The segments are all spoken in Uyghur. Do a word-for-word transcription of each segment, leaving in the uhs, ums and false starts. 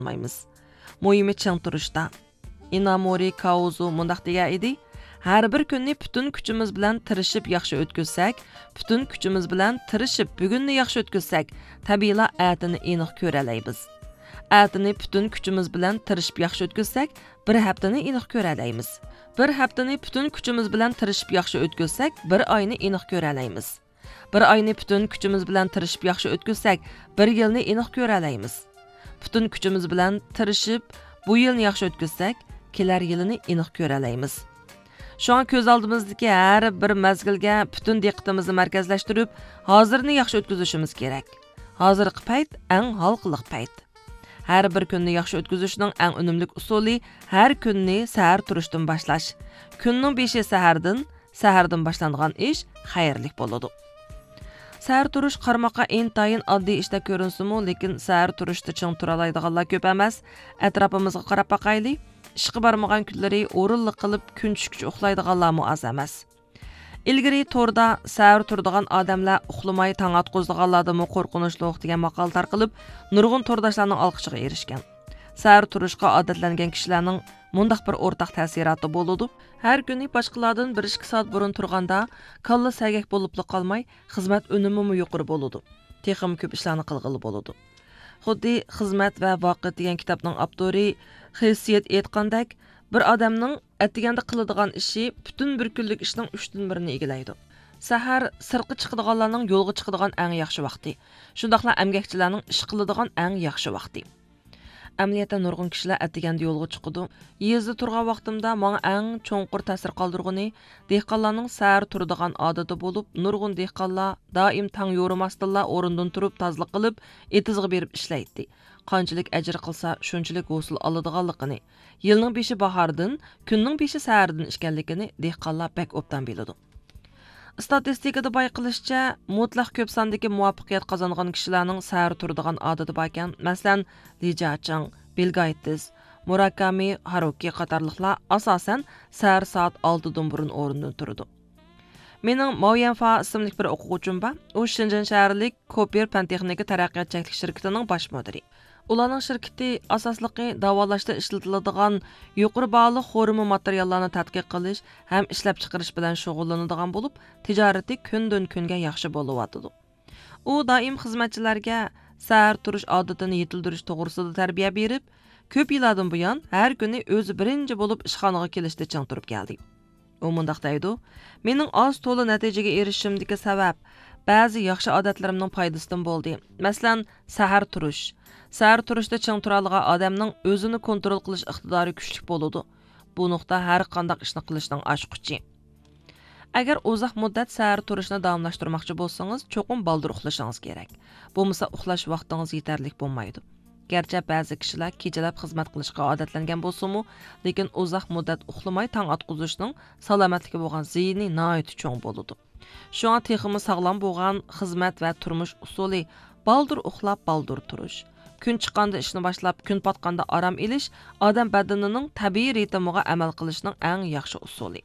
ئالمايمىز. مۇھىمى چىڭ تۇرۇشتا. ئىنامورى كاۋزۇ مۇنداق دېگەن ئىدى: «ھەر بىر كۈننى پۈتۈن كۈچىمىز بىلەن تىرىشىپ ياخشى ئۆتكۈزسەك، پۈتۈن كۈچىمىز بىلەن تىرىشىپ بۈگۈننى ياخشى ئۆتكۈزسەك، تەبىئىيلا ئەتىنى ئېنىق كۆرەلەيمىز. ئەتىنى پۈتۈن كۈچىمىز بىلەن تىرىشىپ ياخشى ئۆتكۈزسەك، بىر ھەپتىنى ئېنىق كۆرەلەيمىز. بىر ھەپتىنى پۈتۈن كۈچىمىز بىلەن تىرىشىپ ياخشى ئۆتكۈزسەك، بىر ئاينى ئېنىق كۆرەلەيمىز. بىر ئاينى پۈتۈن كۈچىمىز بىلەن تىرىشىپ ياخشى ئۆتكۈزسەك، بىر يىلنى ئېنىق كۆرەلەيمىز. پۈتۈن كۈچىمىز بىلەن تىرىشىپ، بۇ يىلنى ياخشى ئۆتكۈزسەك، كېلەر يىلىنى ئېنىق كۆرەلەيمىز. شۇڭا كۆز ئالدىمىزدىكى ھەر بىر مەزگىلگە پۈتۈن دىققىتىمىزنى مەركەزلەشتۈرۈپ، ھازىرنى ياخشى ئۆتكۈزۈشىمىز كېرەك. ھازىرقى پەيت ئەڭ ھالقىلىق پەيت. ھەر بىر كۈننى ياخشى ئۆتكۈزۈشنىڭ ئەڭ ئۈنۈملۈك ئۇسۇلى ھەر كۈننى سەھەر تۇرۇشتىن باشلاش. كۈننىڭ بېشى سەھەردىن، سەھەردىن باشلانغان ئىش خەيرلىك بولىدۇ.» سەھەر تۇرۇش قارىماققا ئىنتايىن ئاددىي ئىشتەك كۆرۈنسىمۇ، لېكىن سەھەر تۇرۇشتا چىڭ تۇرالايدىغانلار كۆپ ئەمەس. ئەتراپىمىزغا قاراپ باقايلى. ئىشقا بارمىغان كۈنلىرى ھۇرۇنلۇق قىلىپ كۈن چۈشكىچە ئۇخلايدىغانلارمۇ ئاز ئەمەس. ئىلگىرى توردا سەھەر تۇرىدىغان ئادەملەر ئۇخلىماي تاڭ ئاتقۇزىدىغانلاردىنمۇ قورقۇنچلۇق دېگەن ماقالە تارقىلىپ، نۇرغۇن تورداشلارنىڭ ئالقىشىغا ئېرىشكەن. سەھەر تۇرۇشقا ئادەتلەنگەن كىشىلەرنىڭ مۇنداق بىر ئورتاق تەسىراتى بولىدۇ. ھەر كۈنى باشقىلاردىن بىر ئىككى سائەت بۇرۇن تۇرغاندا، كاللا سەگەك بولۇپلا قالماي، خىزمەت ئۈنۈمىمۇ يۇقىرى بولىدۇ. تېخىمۇ كۆپ ئىشلارنى قىلغىلى بولىدۇ. خۇددى خىزمەت ۋە ۋاقىت دېگەن كىتابنىڭ ئاپتورى خېسسىيېت ئېيتقاندەك، بىر ئادەمنىڭ ئەتىگەندە قىلىدىغان ئىشى پۈتۈن بىر كۈنلۈك ئىشنىڭ ئۈچتىن بىرىنى ئىگىلەيدۇ. سەھەر سىرتقا چىقىدىغانلارنىڭ يولغا چىقىدىغان ئەڭ ياخشى ۋاقتى، شۇنداقلا ئەمگەكچىلەرنىڭ ئىش قىلىدىغان ئەڭ ياخشى ۋاقتى. ئەمەلىيەتتە نۇرغۇن كىشىلەر ئەتىگەندە يولغا چىقىدۇ. يېزىدا تۇرغان ۋاقتىمدا ماڭا ئەڭ چوڭقۇر تەسىر قالدۇرغىنى دېھقانلارنىڭ سەھەر تۇرىدىغان ئادىتى بولۇپ، نۇرغۇن دېھقانلار دائىم تاڭ يورۇماستىنلا ئورنىدىن تۇرۇپ تازىلىق قىلىپ، ئېتىزغا بېرىپ ئىشلەيتتى. قانچىلىك ئەجىر قىلسا، شۇنچىلىك ھوسۇل ئالىدىغانلىقىنى، يىلنىڭ بېشى باھاردىن، كۈننىڭ بېشى سەھەردىن ئىكەنلىكىنى دېھقانلار بەك ئوبدان بىلىدۇ. ئىستاتىستىكىدا بايقىلىشىچە، مۇتلەق كۆپ ساندىكى مۇۋەپپەقىيەت قازانغان كىشىلەرنىڭ سەھەر تۇرىدىغان ئادىتى باركەن. مەسىلەن، لى جياچىڭ، بىل گېيتس، مۇراكامى ھاروكى قاتارلىقلار ئاساسەن سەھەر سائەت ئالتىدىن بۇرۇن ئورنىدىن تۇرىدۇ. مېنىڭ ماۋ يەنفا ئىسىملىك بىر ئوقۇغۇچىم بار. ئۇ شېنجېن شەھەرلىك كوپېر پەن تېخنىكا تەرەققىيات چەكلىك شىركىتىنىڭ باش مۇدىرى. ئۇلارنىڭ شىركىتى ئاساسلىقى داۋالاشتا ئىشلىتىلىدىغان يۇقىرى باھالىق خورما ماتېرىياللارنى تەتقىق قىلىش ھەم ئىشلەپچىقىرىش بىلەن شۇغۇللىنىدىغان بولۇپ، تىجارىتى كۈندىن-كۈنگە ياخشى بولۇۋاتىدۇ. ئۇ دائىم خىزمەتچىلەرگە سەھەر تۇرۇش ئادىتىنى يېتىلدۈرۈش توغرىسىدا تەربىيە بېرىپ، كۆپ يىللاردىن بۇيان ھەر كۈنى ئۆزى بىرىنچى بولۇپ ئىشخانىغا كېلىشتە چىڭ تۇرۇپ كەلدى. ئۇ مۇنداق دەيدۇ: «مېنىڭ ئاز تولا نەتىجىگە ئېرىشىشىمدىكى سەۋەب، بەزى ياخشى ئادەتلىرىمنىڭ پايدىسىدىن بولدى. مەسىلەن، سەھەر تۇرۇش. سەھەر تۇرۇشتا چىڭ تۇرالىغان ئادەمنىڭ ئۆزىنى كونترول قىلىش ئىقتىدارى كۈچلۈك بولىدۇ. بۇ نۇقتا ھەر قانداق ئىشنى قىلىشنىڭ ئاچقۇچى. ئەگەر ئۇزاق مۇددەت سەھەر تۇرۇشنى داۋاملاشتۇرماقچى بولسىڭىز، چوقۇم بالدۇر ئۇخلىشىڭىز كېرەك. بولمىسا ئۇخلاش ۋاقتىڭىز يېتەرلىك بولمايدۇ.» گەرچە بەزى كىشىلەر كېچىلەپ خىزمەت قىلىشقا ئادەتلەنگەن بولسىمۇ، لېكىن ئۇزاق مۇددەت ئۇخلىماي تاڭ ئاتقۇزۇشنىڭ سالامەتلىككە بولغان زىيىنى ناھايىتى چوڭ بولىدۇ. شۇڭا تېخىمۇ ساغلام بولغان خىزمەت ۋە تۇرمۇش ئۇسۇلى بالدۇر ئۇخلاپ، بالدۇر تۇرۇش. كۈن چىققاندا ئىشنى باشلاپ، كۈن پاتقاندا ئارام ئېلىش ئادەم بەدىنىنىڭ تەبىئىي رىتىمىغا ئەمەل قىلىشنىڭ ئەڭ ياخشى ئۇسۇلى.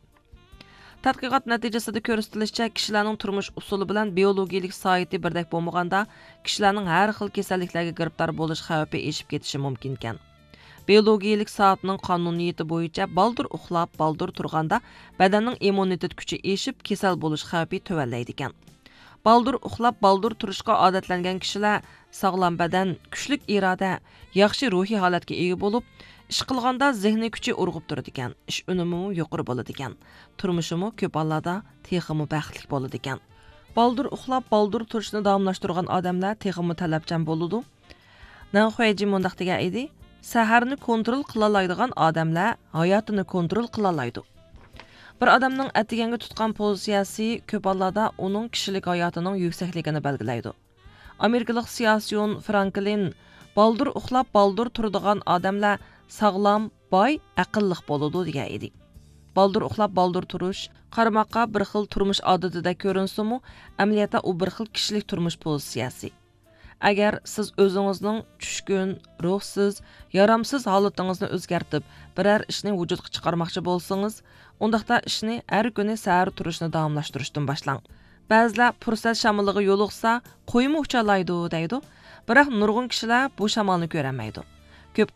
تەتقىقات نەتىجىسىدە كۆرسىتىلىشىچە، كىشىلەرنىڭ تۇرمۇش ئۇسۇلى بىلەن بىئولوگىيىلىك سائىتى بىردەك بولمىغاندا، كىشىلەرنىڭ ھەر خىل كېسەللىكلەرگە گىرىپتار بولۇش خەۋپى ئېشىپ كېتىشى مۇمكىنكەن. بىئولوگىيىلىك سائەتنىڭ قانۇنىيىتى بويىچە بالدۇر ئۇخلاپ، بالدۇر تۇرغاندا بەدەننىڭ ئىممۇنىتېت كۈچى ئېشىپ، كېسەل بولۇش خەۋپى تۆۋەنلەيدىكەن. بالدۇر ئۇخلاپ، بالدۇر تۇرۇشقا ئادەتلەنگەن كىشىلەر ساغلام بەدەن، كۈچلۈك ئىرادە، ياخشى روھىي ھالەتكە ئىگە بولۇپ، ئىش قىلغاندا زېھنىي كۈچى ئۇرغۇپ تۇرىدىكەن، ئىش ئۈنۈمىمۇ يۇقىرى بولىدىكەن، تۇرمۇشىمۇ كۆپ ھاللاردا تېخىمۇ بەختلىك بولىدىكەن. بالدۇر ئۇخلاپ، بالدۇر تۇرۇشنى داۋاملاشتۇرغان ئادەملەر تېخىمۇ تەلەپچان بولىدۇ. نەن خۇەيجى مۇنداق دېگەن ئىدى: «سەھەرنى كونترول قىلالايدىغان ئادەملەر ھاياتىنى كونترول قىلالايدۇ.» بىر ئادەمنىڭ ئەتىگەنگە تۇتقان پوزىتسىيەسى كۆپ ھاللاردا ئۇنىڭ كىشىلىك ھاياتىنىڭ يۈكسەكلىكىنى بەلگىلەيدۇ. ئامېرىكىلىق سىياسىيون فرانكلىن: «بالدۇر ئۇخلاپ، بالدۇر تۇرىدىغان ئادەملەر ساغلام، باي، ئەقىللىق بولىدۇ» دېگەن ئىدى. بالدۇر ئۇخلاپ، بالدۇر تۇرۇش قارىماققا بىر خىل تۇرمۇش ئادىتىدەك كۆرۈنسىمۇ، ئەمەلىيەتتە ئۇ بىر خىل كىشىلىك تۇرمۇش پوزىتسىيەسى. ئەگەر سىز ئۆزىڭىزنىڭ چۈشكۈن، روھسىز، يارامسىز ھالىتىڭىزنى ئۆزگەرتىپ، بىرەر ئىشنى ۋۇجۇدقا چىقارماقچى بولسىڭىز، ئۇنداقتا ئىشنى ھەر كۈنى سەھەر تۇرۇشنى داۋاملاشتۇرۇشتىن باشلاڭ. بەزىلەر پۇرسەت شامىلىغا يولۇقسا، قويمۇ ئۇچالايدۇ دەيدۇ، بىراق نۇرغۇن كىشىلەر بۇ شامالنى كۆرەلمەيدۇ.